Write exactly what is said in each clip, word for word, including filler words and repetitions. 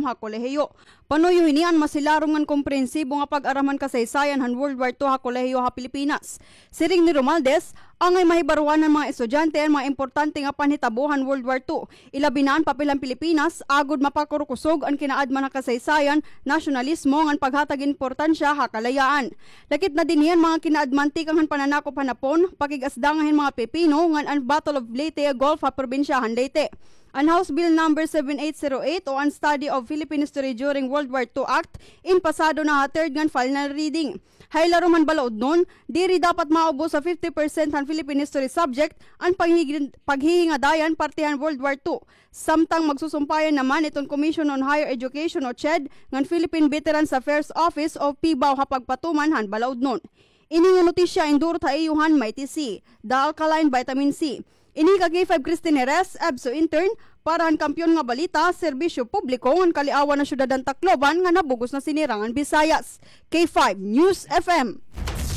ha kolehiyo. Panuyo hini an masilarom ngan komprehensibo nga pag-aram han kasaysayan han World War Two ha kolehiyo ha Pilipinas. Siring ni Romualdez, angay mahibaroan han mga estudyante an mga importante nga panhitabo han World War Two. Ilabi na an papel han Pilipinas, agod mapakurkusog an kinaadman ha kasaysayan, nasyonalismo, ngan paghatag importansya ha kalayaan. Lakip na dinhi an mga kinaadman tikang han pananakop han Hapon, pakig-asdanga hin mga Pipino, ngan an Battle of Leyte Gulf ha probinsya han Leyte. An House Bill Number seven eight zero eight o an Study of Philippine History During World War Two Act in pasado na ha third ngan final reading. Ha ilarom han balaudnon, diri dapat maubos sa fifty percent han Philippine History subject an paghigin-, paghihingadayan parte han World War Two. Samtang magsusumpayan naman iton Commission on Higher Education o CHED ngan Philippine Veterans Affairs Office o PHIVAO ha pagpatuman han balaudnon. Ini nga notisya indurot ha iyo han Mighty C, The Alkaline Vitamin C. Ini ka K five Christine Jerez, EVSU intern, para han Kampiyon nga Balita, Serbisyo Publiko ngan Kaliawan ha Syudad han Tacloban nga nabug-os na sinirangan Visayas. K five News F M.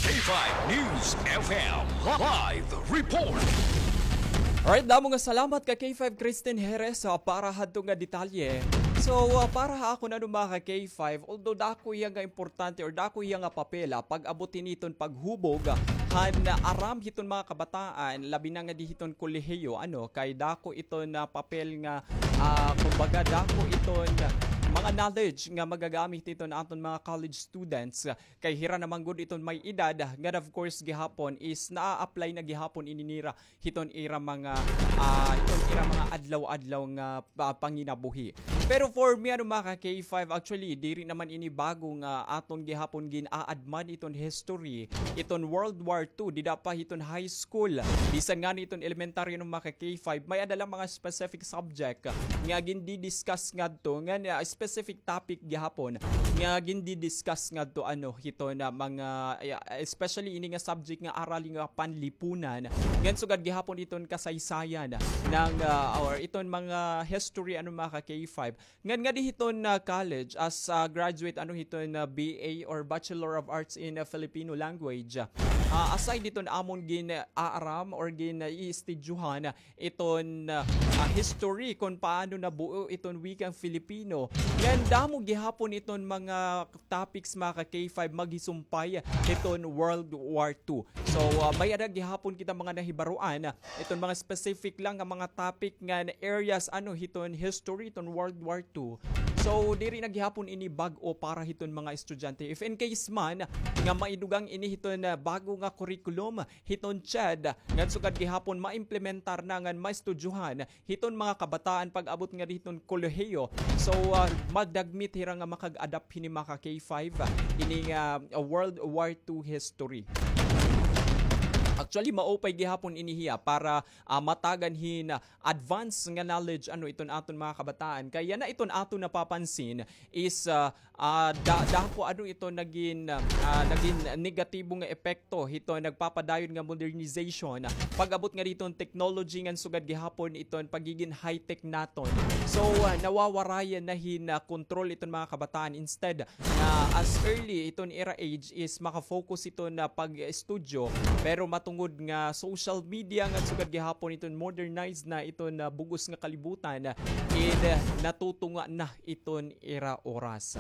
K five News F M live report. Alright, damo nga salamat ka K five Christine Jerez, ah, para hadto nga detalye. So, ah, para ha akon, ano, mga ka K five, although dako hiya nga importante or dako hiya nga papel, ah, pag-abot hini hiton paghubog, ah, han, ah, aram hiton mga kabataan, labi na nga di hiton kolehiyo, ano, kay dako iton, ah, papel nga, ah, kumbaga, dako iton, ah, mga knowledge nga magagamit hiton aton mga college students, ah, kay hira naman gud iton may edad, nga of course gihapon is naa-apply na gihapon ini nira hiton ira mga, ah, hiton ira mga adlaw-adlaw nga pa-, panginabuhi. Pero for me, ano, mga ka K five, actually, diri naman ini bago nga aton gihapon gin-aadman iton history, iton World War Two, dida pa hiton high school. Bisan ngani iton elementary, ano, mga ka K five, may-ada la mga specific subject nga gindi-discuss ngadto, nga, ah, specific topic gihapon nga gindi-discuss ngadto, ano, hiton mga, ah, especially ini nga subject nga arali nga panlipunan, ngan sugad gihapon iton kasaysayan ng, ah, or iton mga history, ano, mga ka K five. Ngan ngadi hiton, ah, college as, ah, graduate, ano, hiton, ah, B A or Bachelor of Arts in, ah, Filipino Language. Ah, aside hiton amon gin-aaram or gin-iistidyuhan, iton, ah, ah, history kon paano nabuo iton wikang Filipino. Ngan damo gihapon iton mga topics, mga ka K five, maghisumpay iton World War Two. So, ah, may-ada gihapon kita mga nahibaroan, ah, iton mga specific lang nga mga topic nga areas, ano, hiton history, iton World War Two. So, diri na gihapon ini bag-o para hiton mga estudyante. If in case man nga maidugang ini hiton, ah, bago nga curriculum, hiton CHED, ngan sugad gihapon maimplementar na ngan maistudyohan hiton mga kabataan pag-abot ngadi hiton kolehiyo. So, ah, magdagmit hira nga makag-adapt hini, mga ka K five, ah, ini nga, ah, World War Two history. Actually, maupay gihapon ini hiya para, ah, matagan hin, ah, advance nga knowledge, ano, iton aton mga kabataan. Kay yana iton aton napapansin is, ah, ah, da-, dako, ano, ito nagin, ah, nagin negatibo nga epekto hito nagpapadayon nga modernization, pag-abot nga diton technology ngan sugad gihapon iton pagigin high-tech naton. So, ah, nawawarayan na hin, ah, control iton mga kabataan. Instead, na as early iton ira age is maka-focus iton pag-estudyo, pero matungod nga social media ngan sugad gihapon iton modernized na iton bug-os nga kalibutan, id natutunga na iton ira oras.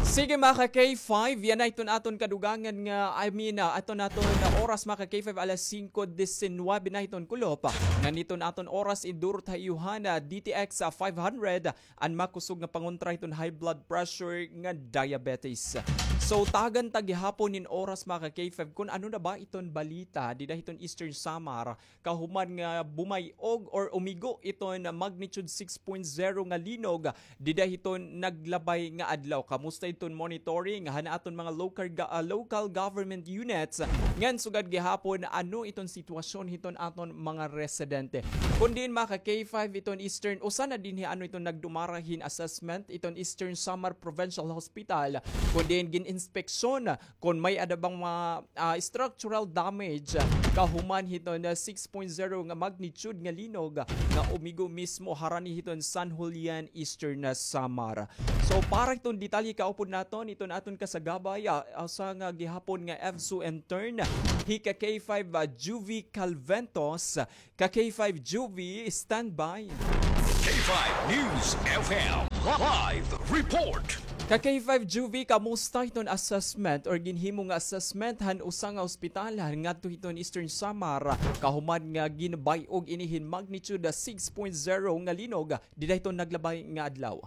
Sige, mga ka K five, yana iton aton kadugangan nga, I mean, ah, aton, aton oras, mga ka K five, alas singko disinwebe na iton kulop. Ngan iton aton oras, idurot ha iyo han D T X, ah, five hundred, an makusog nga pangontra hiton high blood pressure ngan diabetes. So, tagan ta gihapon hin oras, mga ka K five, kon ano na ba iton balita dida hiton Eastern Samar, kahuman nga bumay-og or umigo iton magnitude six point zero nga linog dida hiton naglabay nga adlaw. Kamusta iton monitoring han aton mga local ga-, ah, local government units? Ngan sugad gihapon, ano iton sitwasyon hiton aton mga residente? Kon diin, mga ka K five, iton Eastern, usa na dinhi, ano, iton nagdumara hin assessment iton Eastern Samar Provincial Hospital, kon diin gin-inspeksyon kon may-ada bang mga, ah, structural damage kahuman hiton, ah, six point zero nga magnitude nga linog nga umigo mismo harani hiton San Julian, Eastern Samar. So, para hiton detalye, kaupod naton iton aton kasagabay, ah, usa nga gihapon nga EVSU intern, hi ka K five, ah, Juvie Calventos. Ka K five Juvie, standby. K five News F M. Live report. Ka K five Juvie, kamusta hiton assessment or ginhimo nga assessment han usa nga ospital han ngadto hiton Eastern Samar, kahuman nga ginbay-og ini hin magnitude six point zero nga linog dida hiton naglabay nga adlaw?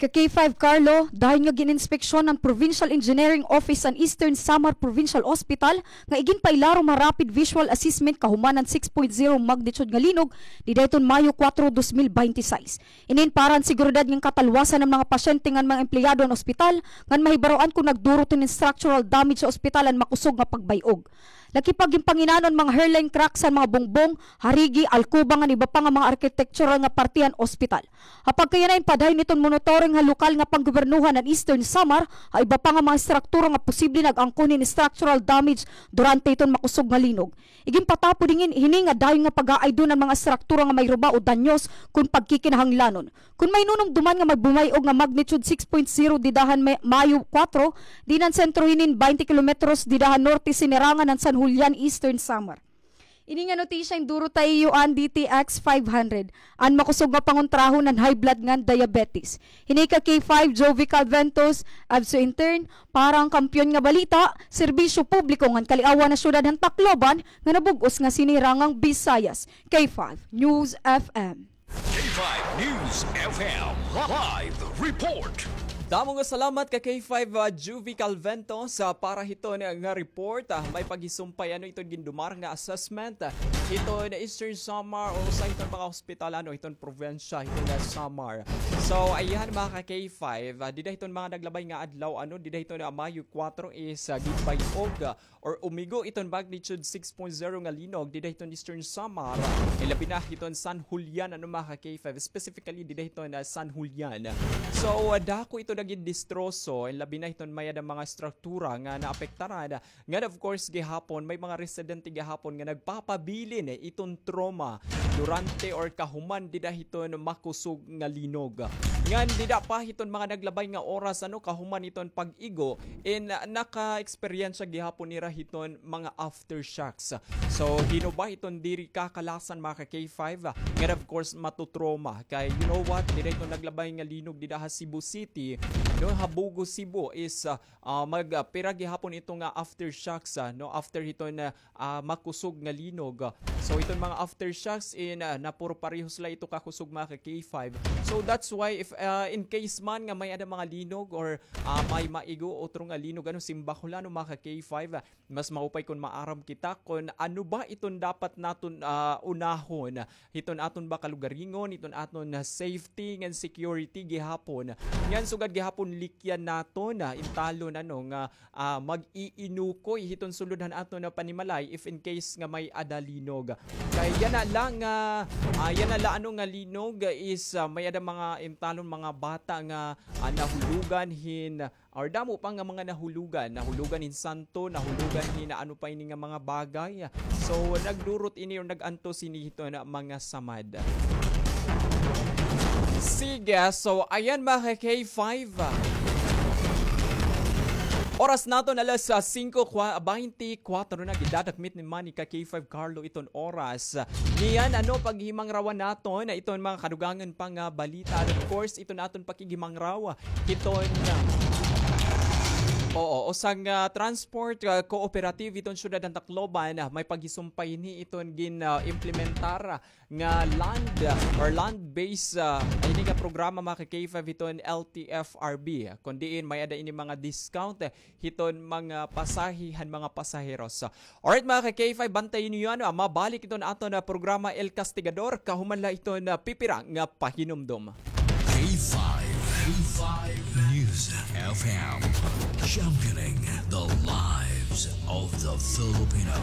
Ka K five Carlo, dayon nga gin-inspeksyon han Provincial Engineering Office an Eastern Samar Provincial Hospital nga iginpailarom ha rapid visual assessment kahuman han six point zero magnitude nga linog dida hiton Mayo kuwatro, dos mil bente sais. Inin para han seguridad ngan katalwasan han mga pasyente ngan mga empleyado han ospital ngan mahibaroan kon nagdurot hin structural damage ha ospital an makusog nga pagbay-og. Nakipaghinpanginanon mga hairline cracks han mga bungbong, harigi, alkoba ngan iba pa nga mga architectural nga parte han ospital. Ha pagkayana, ginpadayon iton monitoring han lokal nga panggobernohan han Eastern Samar ha iba pa nga mga estruktura nga posible nag-angkon hin structural damage durante hiton makusog nga linog. Iginpatapod hini nga dayon nga pag-aaydon an mga estruktura nga may ruba o danyos kon pagkikinahanglanon. Kon may nunumduman nga magbumay-og nga magnitude six point zero dida han May-, Mayo kuwatro, diin an sentro hinin baynte kilometros dida han norte sinirangan han San Julian, Eastern Samar. Ini nga notisya gindurot ha iyo han D T X five hundred, an makusog nga pangontrahon han high blood ngan diabetes. Hini ka K five Jovi Calventos, Abso Intern, para han Kampiyon nga Balita, Serbisyo Publiko ngan Kaliawan ha Syudad han Tacloban, nga nabug-os nga sinirangan Visayas. K five News F M. K five News F M live report. Damo nga salamat ka K five, ah, Juvie Calvento sa para hiton nga report. Ah, may paghisumpay ano iton gindumar nga assessment, ah, hiton Eastern Samar o sa hiton mga hospital ano hiton probinsya hiton, ah, Samar. So ayan mga ka K five, ah, dida hiton mga naglabay nga adlaw ano dida hiton, ah, Mayo kuwatro is, ah, ginbay-og, ah, or umigo iton magnitude six point zero nga linog dida hiton Eastern Samar, eh, labi na hiton San Julian, ano, mga ka K five, specifically dida hiton, ah, San Julian. So, ah, dako ito nagin distroso, eh, labi na hiton may-ada mga struktura nga naapektaran. Ngan, of course, gihapon, may mga residente gihapon nga nagpapabilin, eh, iton trauma durante or kahuman dida hiton makusog nga linog. Ngan dida pa hiton mga naglabay nga oras, ano, kahuman hiton pag-igo, in, ah, naka-eksperyensya gihapon nira hiton mga aftershocks. So, hin-o ba hiton diri kakalasan, mga ka K five, ah, ngan of course matutroma. Kay, you know what, dida hiton naglabay nga linog dida ha Cebu City, no, ha Bogo, Cebu is, ah, ah, mag, ah, pira gihapon ito nga aftershocks, ah, no, after hiton, ah, ah, makusog nga linog. So, iton mga aftershocks in, ah, napuro parehos la ito kakusog, mga ka K five. So, that's why if, ah, in case man nga may-ada mga linog or, ah, may maigo, otro nga linog, ano, simbahol, ano, mga ka K five, ah, mas maupay kon maaram kita kon ano ba iton dapat naton, ah, unahon hiton aton ba kalugaringon, hiton aton, ah, safety ngan security gihapon. Ngan sugad gihapon likyan naton, ah, intalon, ano, nga ah, mag-iinukoy hiton sulod han aton nga panimalay if in case nga may-ada linog. Kay yana la nga, ah, yana la ano nga linog is, ah, may-ada mga intalon mga bata nga, ah, nahulogan hin, or damo pa nga mga nahulogan, nahulogan hin santo, nahulogan hin ano pa ini nga mga bagay. So, nagdurot ini or nag-antos ini hiton mga samad. Sige, so ayan mga ka K five. Oras naton alas, ah, singko kwa-, baynte kwatro na, gidadakmit ni man ni ka K five Carlo iton oras. Niyan, ano, paghimangrawan naton iton mga kadugangan pa nga balita. And of course, iton aton pakighimangraw hiton, ah, oo, usa nga, ah, transport, ah, cooperative iton syudad han Tacloban, ah, may paghisumpay ini iton gin, ah, implementar nga land, ah, or land-based, ah, ini nga programa, mga ka K five, hiton L T F R B, kon diin may-ada ini mga discount, eh, hiton mga pasahe han mga pasaheros. Alright, mga ka K five, bantayi niyo, ano, ah, mabalik iton aton, ah, programa El Castigador, kahuman la iton, ah, pipira nga pahinumdom. K five, K five News F M, championing the lives of the Filipino.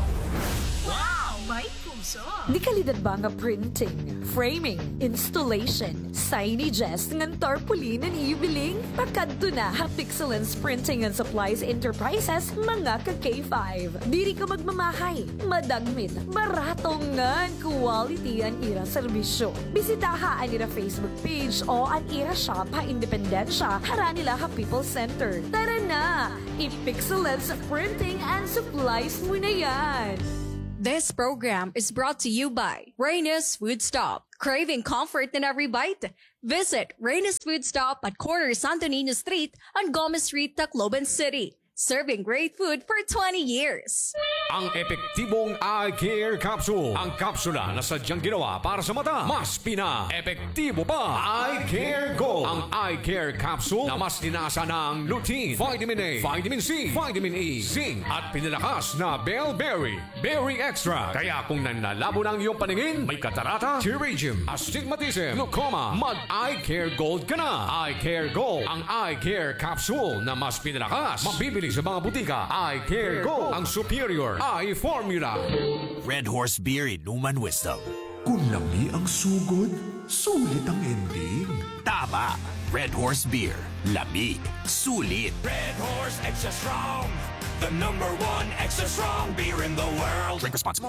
Wow! May puso! Dekalidad ba nga printing, framing, installation, signages, ngan tarpaulin an iyo biling? Pakadto na ha Pixelens Printing and Supplies Enterprises, mga ka K five. Diri ka magmamahay, madagmit, barato ngan quality an ira serbisyo. Bisitaha an ira Facebook page o an ira shop ha Independencia, harani la ha People's Center. Tara na! I-Pixelens Printing and Supplies mo na yan! This program is brought to you by Reyna's Food Stop. Craving comfort in every bite? Visit Reyna's Food Stop at corner Santo Niño Street and Gomez Street, Tacloban City. Serving great food for twenty years. Ang epektibong Eye Care Capsule. Ang kapsula na sadyang ginawa para sa mata. Mas pina-epektibo pa. Eye Care Gold. Ang Eye Care Capsule na mas tinaasan ng lutein, vitamin A, vitamin C, vitamin E, zinc, at pinalakas na bellberry berry extract. Kaya kung nanlalabo na ang iyong paningin, may katarata, pterygium, astigmatism, glaucoma, mag-Eye Care Gold ka na. Eye Care Gold, ang Eye Care Capsule na mas pinalakas. Mabibili sa mga butika. Eye Care Gold, ang superior eye formula. Red Horse Beer, Inuman Wisdom. Kung lami ang sugod, sulit ang ending. Tama! Red Horse Beer. Lami. Sulit. Red Horse Extra Strong. The number one extra strong beer in the world. Drink responsibly.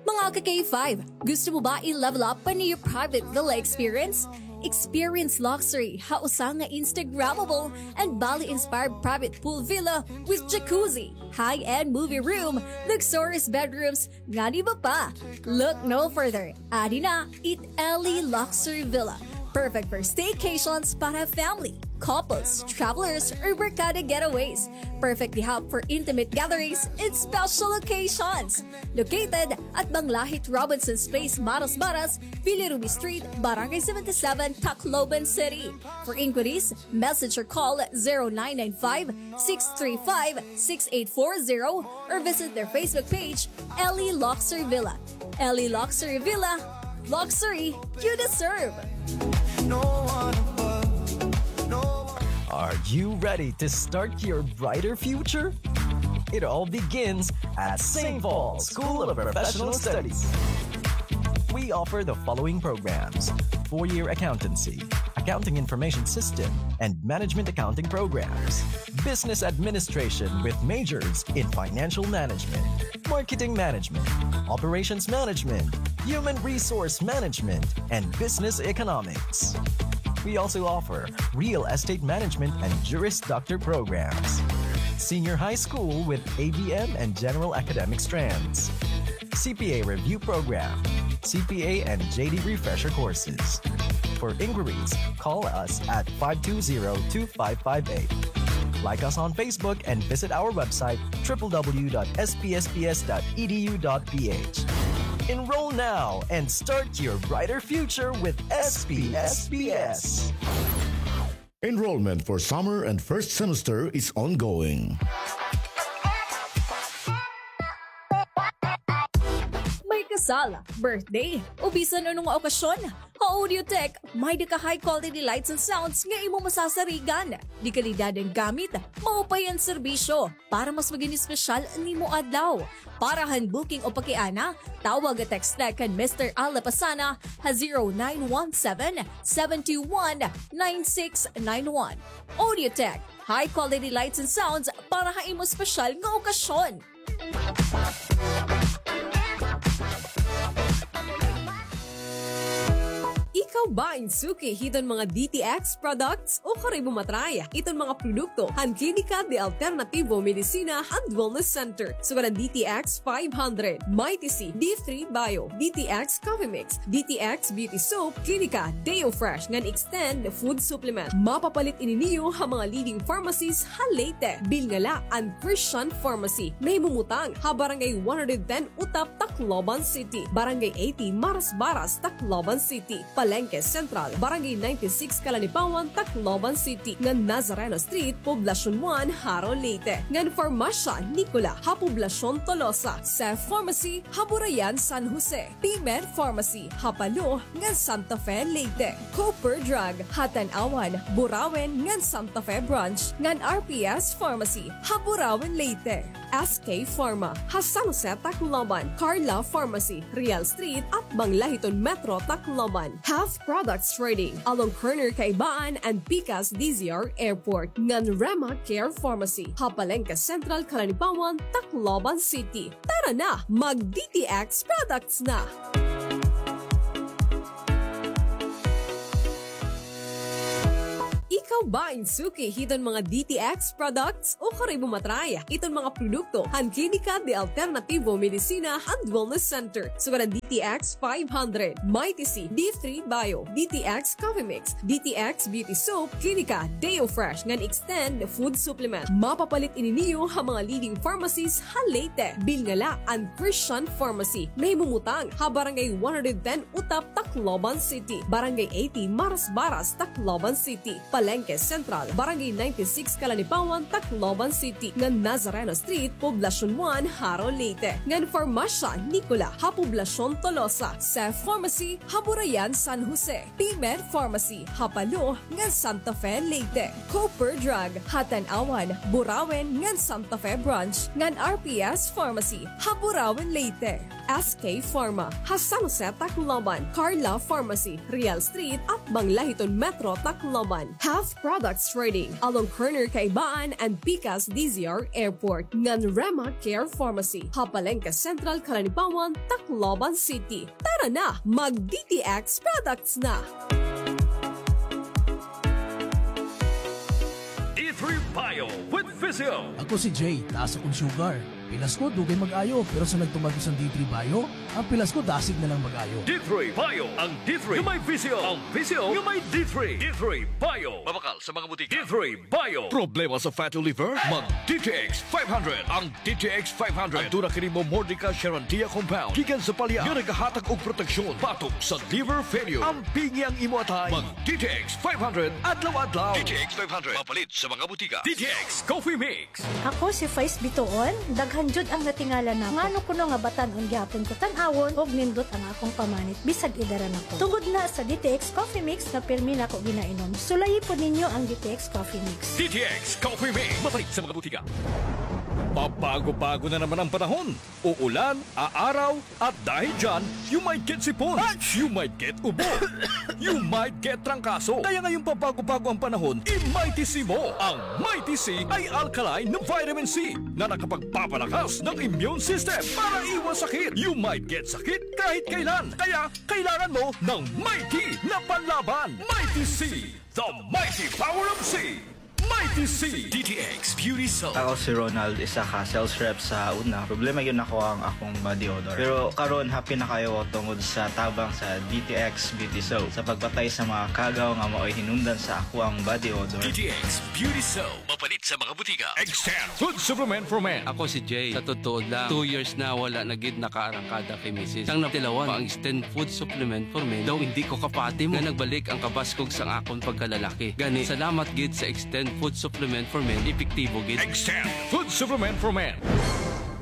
Mga ka-K five, gusto mo ba i-level up pa niyo private villa experience? Experience luxury ha usa nga Instagrammable and Bali-inspired private pool villa with jacuzzi, high-end movie room, luxurious bedrooms, ngan iba pa. Look no further. Adi na it Ellie Luxury Villa. Perfect for staycations para family, couples, travelers, or barkada getaways. Perfect gihap for intimate gatherings and special occasions. Located at Banglahit Robinson's Place, Marasbaras, Villa Ruby Street, Barangay seventy-seven, Tacloban City. For inquiries, message or call zero nine nine five, six three five, six eight four zero or visit their Facebook page, Ellie Luxury Villa. Ellie Luxury Villa, luxury you deserve. No one above, no one. Are you ready to start your brighter future? It all begins at Saint Paul's School of Professional Studies. We offer the following programs: four-year accountancy, accounting information system, and management accounting programs, business administration with majors in financial management, marketing management, operations management, human resource management, and business economics. We also offer real estate management and Juris Doctor programs, senior high school with A B M and general academic strands, C P A review program, C P A and J D refresher courses. For inquiries, call us at five two zero, two five five eight. Like us on Facebook and visit our website, triple W dot S P S P S dot E D U dot P H. Enroll now and start your brighter future with S P S P S. Enrollment for summer and first semester is ongoing. May kasal, birthday, o bisan ano nga okasyon, ha Audiotech, may-ada ka high quality lights and sounds nga imo masasarigan. De kalidad an gamit, maupay an serbisyo. Para mas magin espesyal an imo adlaw. Para han booking o pakiana, tawag o text la kan Mister Al Lapasana ha zero nine one seven, seven two one, nine six nine one. Audiotech, high quality lights and sounds para ha imo espesyal nga okasyon. Ikaw ba in suki hiton mga D T X products? O kari mo ma-try iton mga produkto han Klinika de Alternativo Medicina and Wellness Center, sugad han D T X five hundred, Mighty C, D three Bio, D T X Coffee Mix, D T X Beauty Soap, Klinika Deo Fresh ngan Extend Food Supplement. Mapapalit ini niyo ha mga leading pharmacies ha Leyte. Bilnga la an Christian Pharmacy, nahimumutang ha Barangay one hundred ten Utap, Tacloban City, Barangay eighty Marasbaras, Tacloban City, Palengke Central, Barangay ninety-six Calanipawan, Tacloban City, ngan Nazareno Street, Poblacion one, Jaro, Leyte, ngan Farmasya Nicola ha Poblacion Tolosa, Seth Pharmacy ha Burayan, San Jose, P-Med Pharmacy ha Palo ngan Santa Fe, Leyte, Cooper Drug ha Tanauan, Burauen ngan Santa Fe Branch, ngan R P S Pharmacy ha Burauen, Leyte. S K Pharma ha San Jose, Tacloban, Carla Pharmacy, Real Street, Atbang Lahiton Metro, Tacloban, Health Products Trading, along corner Kaibaan and Pikas D Z R Airport, ngan Rema Care Pharmacy ha Palengke Central, Calanipawan, Tacloban City. Tara na, mag-D T X products na! Ikaw ba in suki hiton mga D T X products? Ukon imo matry iton mga produkto han Klinika de Alternativo Medicina and Wellness Center. Sugad an D T X five hundred, Mighty C, D three Bio, D T X Coffee Mix, D T X Beauty Soap, Klinika Deo Fresh ngan Extend Food Supplement. Mapapalit ini niyo ha mga leading pharmacies ha Leyte. Bilin la an Christian Pharmacy. Nahimumutang ha Barangay one hundred ten Utap, Tacloban City, Barangay eighty Marasbaras, Tacloban City, Palengke Central, Barangay ninety-six Calanipawan, Tacloban City, ngan Nazareno Street, Poblacion one, Jaro, Leyte, ngan Farmasya Nicola ha Poblacion Tolosa, Cef Pharmacy ha Burayan, San Jose, P-Med Pharmacy ha Palo ngan Santa Fe, Leyte, Cooper Drug ha Tanauan, Burauen ngan Santa Fe Branch, ngan R P S Pharmacy ha Burauen, Leyte. S K Pharma ha San Jose, Tacloban, Carla Pharmacy, Real Street, atbang la hiton Metro Tacloban. Health Products Trading, along corner Kaibaan and Pikas D Z R Airport, ngan Rema Care Pharmacy ha Palengke Central, Calanipawan, Tacloban City. Tara na, mag D T X products na! D three Bio with Physio. Ako si Jay, taas akong sugar. Pilas ko, dugay mag-ayo, pero sa nagtumar ko sa D three Bio, ang pilas ko dasig na lang mag-ayo. D three Bio, ang D three nga may Physio, ang Physio nga may D three. D three Bio. Mabakal sa mga butika. D three Bio. Problema sa fatty liver? Mag D T X five hundred. Ang D T X five hundred. Aduna kini momordica charantia compound gikan sa palya nga nagahatag og proteksyon batok sa liver failure. Ampingi ang imo atay. Mag D T X five hundred adlaw-adlaw. D T X five hundred. Mapalit sa mga butika. D T X Coffee Mix. Ako si Faiz Bitoon, daghan jud ang natingala nako. Ngano kuno nga batan-on gihapon ko tan-awon ug nindot ang akong pamanit bisag edara na ko. Tungod na sa D T X Coffee Mix nga pirmi nako ginainom. Sulayi pod ninyo ang D T X Coffee Mix. D T X Coffee Mix. Mapalit sa mga butika. Pabago-bago na naman ang panahon. Uulan, aaraw, at dahil dyan, you might get sipon, you might get ubo, you might get trangkaso. Kaya ngayong pabago-bago ang panahon, i-Mighty C mo. Ang Mighty C ay alkaline na vitamin C na nakapagpapalakas ng immune system para iwas sakit. You might get sakit kahit kailan. Kaya kailangan mo ng Mighty na panlaban. Mighty C, the mighty power of C. Mighty C. D T X Beauty Soap. Ako si Ronald, isa ka sales rep sa una. Problema gyud nako ang akong body odor. Pero karon, happy na kaayo ko tungod sa tabang sa D T X Beauty Soap sa pagpatay sa mga kagaw nga maoy hinungdan sa akoang body odor. D T X Beauty Soap. Mapalit sa mga butika. Extend Food Supplement for Men. Ako si Jay. Sa totoo lang, two years na wala na gid nakaarangkada kay misis. Sang natilawan pa ang Extend Food Supplement for Men, daw indi ko kapati mo nga nagbalik ang kabaskog sang akon pagkalalaki. Gani, salamat gid sa Extend Food Supplement for Men, epektibo gid. Extend Food Supplement for Men.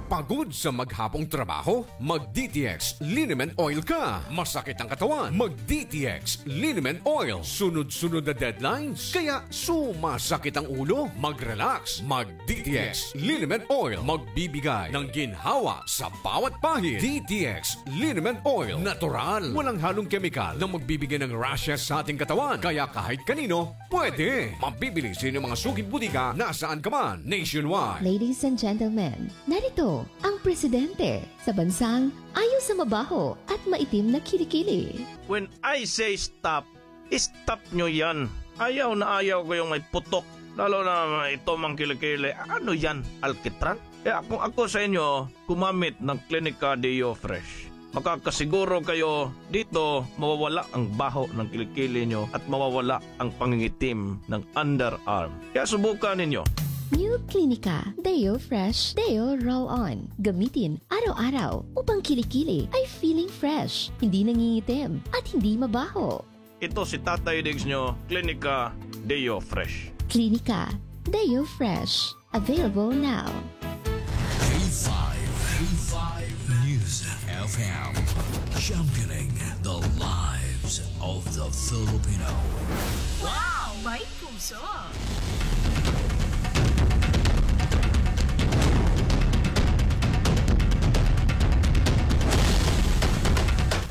Pagod sa maghapong trabaho? Mag D T X Liniment Oil ka. Masakit ang katawan? Mag D T X Liniment Oil. Sunod-sunod na deadlines? Kaya sumasakit ang ulo? Mag-relax. Mag D T X Liniment Oil. Magbibigay ng ginhawa sa bawat pahid. D T X Liniment Oil. Natural. Walang halong kemikal na magbibigay ng rashes sa ating katawan. Kaya kahit kanino, pwede. Mabibili sa inyong mga suking butika nasaan ka man, nationwide. Ladies and gentlemen, narito ang presidente sa bansang ayaw sa mabaho at maitim na kilikili. When I say stop, stop nyo yan. Ayaw na ayaw ko yung may putok. Lalo na ito mang kilikili. Ano yan? Alkitran? Eh, kung ako sa inyo, gumamit ng Klinika Deo Fresh. Makakasiguro kayo dito mawawala ang baho ng kilikili nyo at mawawala ang pangingitim ng underarm. Kaya subukan ninyo. New Klinika Deo Fresh Deo Roll On. Gamitin araw-araw upang kilikili ay feeling fresh, hindi nangingitim, at hindi mabaho. Ito si Tatay Diggs nyo, Klinika Deo Fresh. Klinika Deo Fresh. Available now. K five, K five News F M, championing the lives of the Filipino. Wow! May puso!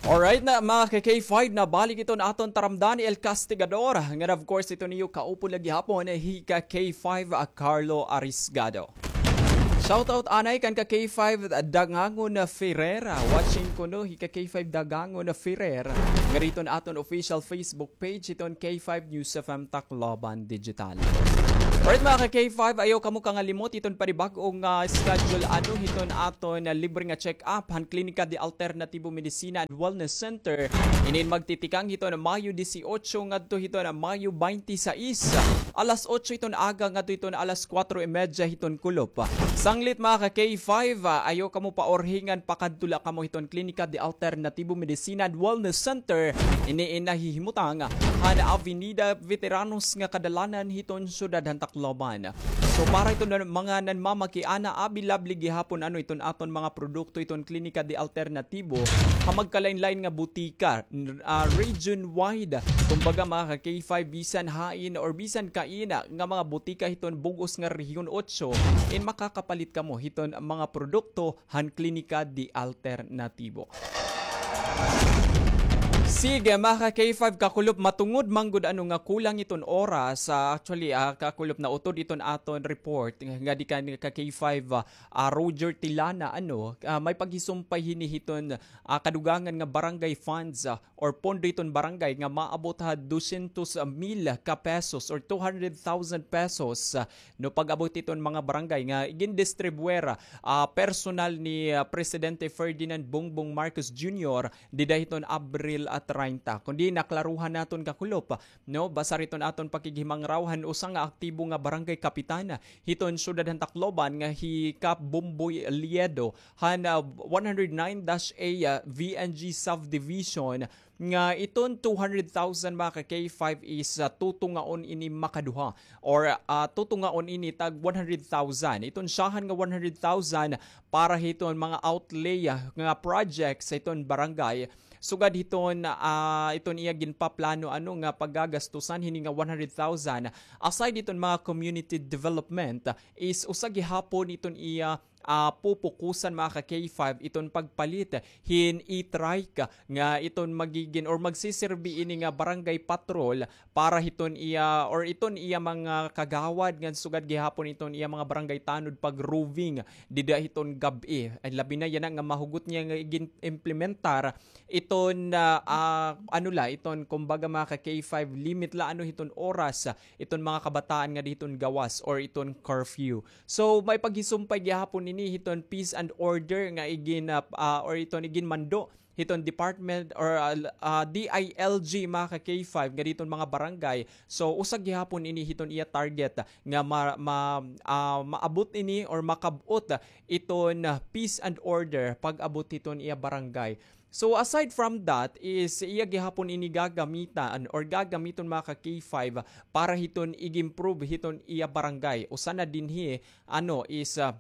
Alright na, mga ka-K five, nabalik iton aton taramdan ni El Castigador. Ngan, of course, ito niyo kaupod la gihapon, hi ka-K five, a Carlo Arisgado. Shoutout anay kan ka K five Dagangon Ferrer. Watching kuno hi ka K five Dagangon Ferrer. Ngari hiton aton official Facebook page hiton K five News F M Tacloban Digital. Alright, mga ka K five, ayaw kamo kangalimot hiton panibag-o nga schedule ano hiton aton libre nga check-up han Klinika de Alternatibo Medicina and Wellness Center. Inin magtitikang hiton Mayo dieciocho ngadto hiton Mayo twenty-six. Alas otso hiton aga ngadto hiton alas kuwatro y medya hiton kulop. Sanglit, mga ka K five, ah, ayaw kamo paurhingan, pakadto la kamo hiton Klinika de Alternatibo Medicina and Wellness Center. Ini in nahihimutang han Avenida Veteranos nga kadalanan hiton siyudad han Tacloban. So, para hiton mga nanmamakiana, available gihapon ano hiton aton mga produkto hiton Klinika de Alternatibo ha magkalain-lain nga butika, n-, ah, region wide. Kumbaga, mga ka K five, bisan hain or bisan kaina nga mga butika hiton bug-os nga Rehiyon Otso, in makakapalit kamo hiton mga produkto han Klinika de Alternatibo. Sige, mga ka K five, kakulop, matungod man gud ano nga kulang iton oras, ah, actually, ah, kakulop, nautod iton aton report nga, nga di kan ka K five, ah, ah, Roger Tilana, ano, ah, may paghisumpay hini hiton, ah, kadugangan nga barangay funds, ah, or pondo hiton barangay nga maabot ha dosyentos mil ka pesos or two hundred thousand pesos, ah, no, pag-abot hiton mga barangay nga gindistribuer, ah, personal ni, ah, Presidente Ferdinand Bongbong Marcos Junior dida hiton Abril, ah, treinta. Kundi naklaruhan naton, kakulop, no, basar hiton aton pakighimangraw han usa nga aktibo nga barangay kapitan hiton siyudad han Tacloban nga hi Kap Bomboy Liedo han, ah, one hundred nine dash A, ah, V N G subdivision nga iton two hundred thousand, mga ka K five, is, ah, tutungaon ini makaduha or, ah, tutungaon ini tag one hundred thousand. Iton syahan nga one hundred thousand para hiton mga outlay, ah, nga project sa iton barangay. Sugad hiton, ah, iton iya ginpaplano ano nga paggagastusan hini nga one hundred thousand, aside hiton mga community development, is usa gihapon iton iya, ah, pupukusan, mga ka K five, iton pagpalit hin e-trike nga iton magigin or magsiserbi ini nga barangay patrol para hiton iya or iton iya mga kagawad ngan sugad gihapon iton iya mga barangay tanod pag-roving dida hiton gab-i. Ay, labi na yana nga mahugot niya nga igin-implementar iton, ah, ah, ano la, iton, kumbaga, mga ka K five, limit la ano hiton oras, ah, iton mga kabataan nga di hiton gawas or iton curfew. So, may paghisumpay gihapon ini hiton peace and order nga igin, ah, ah, or iton iginmando hiton department or, ah, ah, D I L G, mga ka K five, nga di hiton mga barangay. So, usa gihapon ini hiton iya target nga ma-, ma-, ah, maabot ini or makab-ot iton, ah, peace and order pag-abot hiton iya barangay. So, aside from that, is iya gihapon ini gagamitan or gagamiton, mga ka K five, para hiton ig-improve hiton iya barangay. Usa na dinhi, ano, is, ah,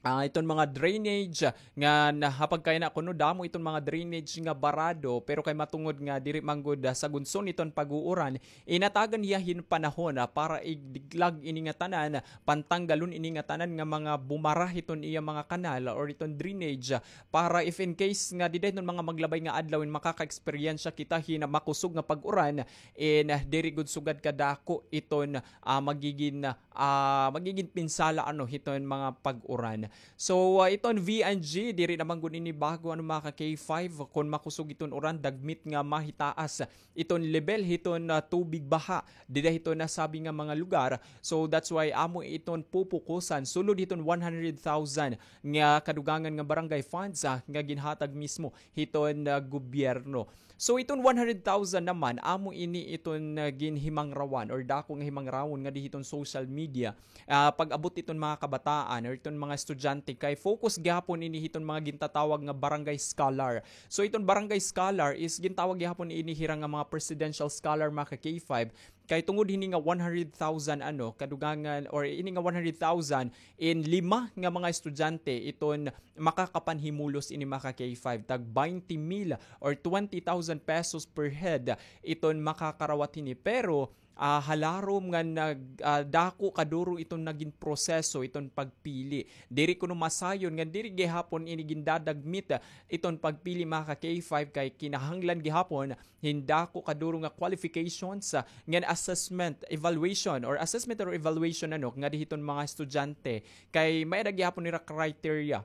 ah, iton mga drainage, ah, nga na-, ha pagkayana kuno damo iton mga drainage nga barado, pero kay matungod nga diri man gud, ah, sagunson iton pag-uuran, inatagan hiya hin panahon, ah, para igdiglag ini nga tanan, pantanggalon ini nga tanan nga mga bumara hiton iya mga kanal or iton drainage, ah, para if in case nga dida hiton mga maglabay nga adlaw in makaka-eksperyensya kita hin makusog nga pag-uran, in, ah, diri gud sugad kadako iton, ah, magigin, ah, magigin pinsala ano hiton mga pag-uran. So, ah, iton V N G, diri naman gud ini bago, ano, mga ka K five, kun makusog iton uran, dagmit nga mahitaas iton lebel hiton, ah, tubig baha dida hiton nasabi nga mga lugar. So, that's why amo iton pupukusan sulod hiton one hundred thousand nga kadugangan nga barangay funds, ah, nga ginhatag mismo hiton, ah, gobyerno. So, iton one hundred thousand naman, amo ini iton, ah, ginhimangrawan or dako nga himangrawon nga di hiton social media, ah, pag-abot iton mga kabataan or iton mga estudyante, kay focus gihapon ini hiton mga gintatawag nga barangay scholar. So, iton barangay scholar is gintawag gihapon ini hira nga mga presidential scholar, mga ka K five, kay tungod hini nga one hundred thousand, ano, kadugangan, or ini nga one hundred thousand in lima nga mga estudyante, iton makakapanhimulos ini, mga ka K five, tag twenty mil or twenty thousand pesos per head iton makakarawat hini. Pero, ah, halarom nga nag-, ah, dako kaduro iton nagin proseso, iton pagpili. Diri kuno masayon nga diri gihapon ini gindadagmit, ah, iton pagpili, mga ka K five, kay kinahanglan gihapon hin dako kaduro nga qualifications, ah, ngan assessment, evaluation, or assessment or evaluation, ano, ngadi hiton mga estudyante. Kay may-ada gihapon nira criteria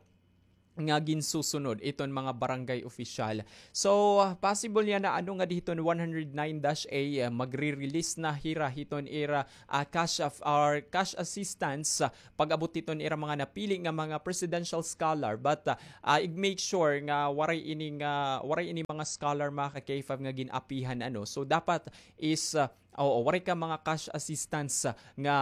nga ginsusunod iton mga barangay opisyal. So, ah, possible yana, ano, ngadi hiton one hundred nine dash A, ah, magre-release na hira hiton ira, ah, cash of, or cash assistance, ah, pag-abot hiton ira mga napili nga mga presidential scholar. But, ah, ah, ig-make sure nga waray ini nga, waray ini mga scholar, mga ka K five, nga gin-apihan, ano. So, dapat is, ah, oo, waray ka mga cash assistance, ah, nga,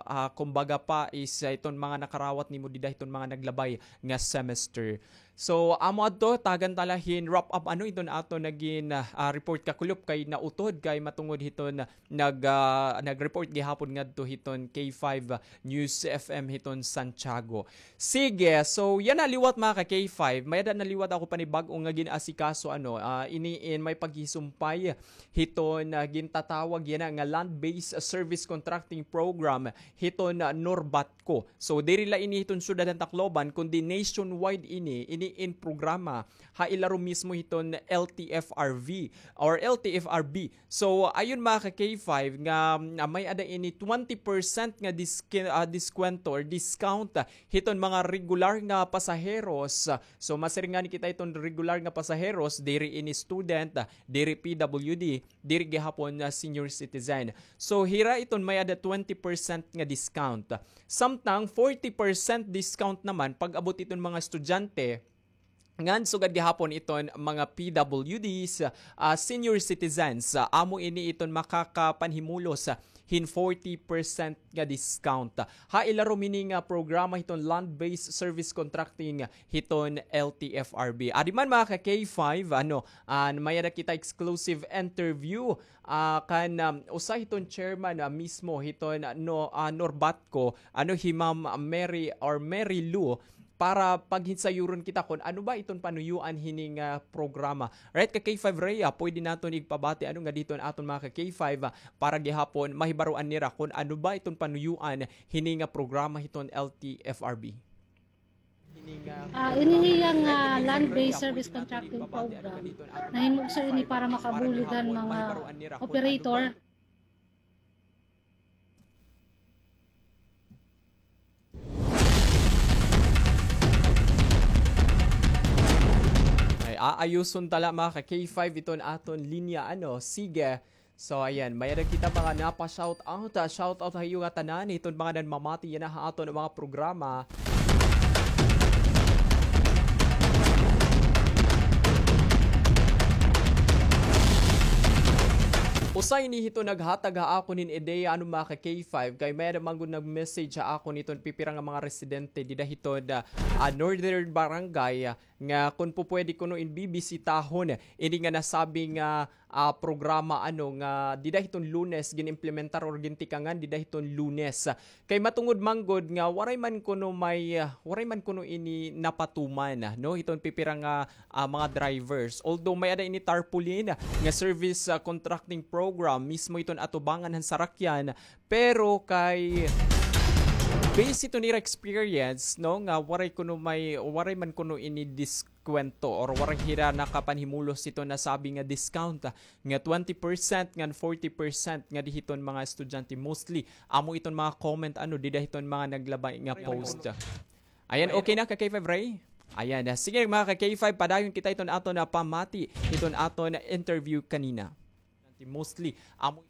ah, kumbaga pa is, ah, iton mga nakarawat nimo dida hiton mga naglabay nga semester. So, amo adto, tagan ta la hin wrap up, ano, iton aton nagin, ah, ah, report, kakulop, kay nautod kay matungod hiton nag, ah, nag-report gihapon ngadto hiton K five News F M hiton Santiago. Sige, so yana liwat, mga ka K five, may-ada na liwat ako panibag-o nga gin-asikaso, ano, ah, ini in may paghisumpay hiton, ah, gintatawag yana nga Land-Based Service Contracting Program hiton, ah, Norbatco. So, diri la ini hiton syudad han Tacloban, kundi nationwide ini, ini in programa ha ilarom mismo hiton L T F R V or L T F R B. So, ayon, mga ka K five, nga, ah, may-ada ini twenty percent nga diski-, ah, diskwento or discount, ah, hiton mga regular nga pasaheros. So, masiring ngani kita hiton regular nga pasaheros, diri ini student, ah, diri P W D, diri gihapon nga senior citizen. So, hira iton may-ada twenty percent nga discount. Samtang forty percent discount naman pag-abot iton mga estudyante, ngan sugad gihapon iton mga P W Ds, ah, senior citizens. Ah, amo ini iton makakapanhimulos, ah, hin forty percent nga discount. Ha ilarom ini nga programa hiton Land-Based Service Contracting hiton L T F R B. Adi man, mga ka K five, ano, ah, may-ada kita exclusive interview, ah, kan, um, usa hiton chairman, ah, mismo hiton, ah, no, ah, Norbatco, ano, hi Ma'am Mary or Mary Lou, para paghinsayuron kita kon ano ba iton panuyuan hini nga programa. Right, ka K five Rhea, pwede naton igpabati, ano, ngadi hiton aton mga ka K five, ah, para gihapon mahibaroan nira kon ano ba iton panuyuan hini nga programa hiton L T F R B. Ah, ini hiya nga, ah, land-based service contracting program. Nahimugso ini para makabulig han mga operator. Ay, aayuson ta la, mga ka K five, iton aton linya, ano. Sige. So, ayan, may-ada kita mga napa-shout out. Ah, shout out ha iyo nga tanan, hiton mga nanmamati yana ha aton mga programa. Usa ini hiton naghatag ha akon hin ideya, ano, mga ka K five, kay may-ada man gud nag-message ha akon hiton pipira nga mga residente dida hiton, ah, ah, Northern Barangay, ah, nga kon pupwede kuno in bibisitahon ini nga nasabi nga, ah, programa, ano, nga dida hiton Lunes gin-implementar or gintikangan dida hiton Lunes. Kay matungod man gud nga waray man kuno may, ah, waray man kuno ini napatuman, ah, no, hiton pipira nga, ah, mga drivers. Although may-ada ini tarpaulin nga service, ah, contracting program mismo hiton atubangan han sarakyan, pero kay base hiton ira experience, no, nga waray kuno may, waray man kuno ini diskwento or waray hira nakapanhimulos hiton nasabi nga discount, ah, nga twenty percent ngan forty percent ngadi hiton mga estudyante, mostly amo iton mga comment, ano, dida hiton mga naglabay nga post. Ayan, okay na, ka K five Ray? Ayan, ah, sige, mga ka K five, padayon kita iton aton nga pamati, iton aton interview kanina. Mostly amo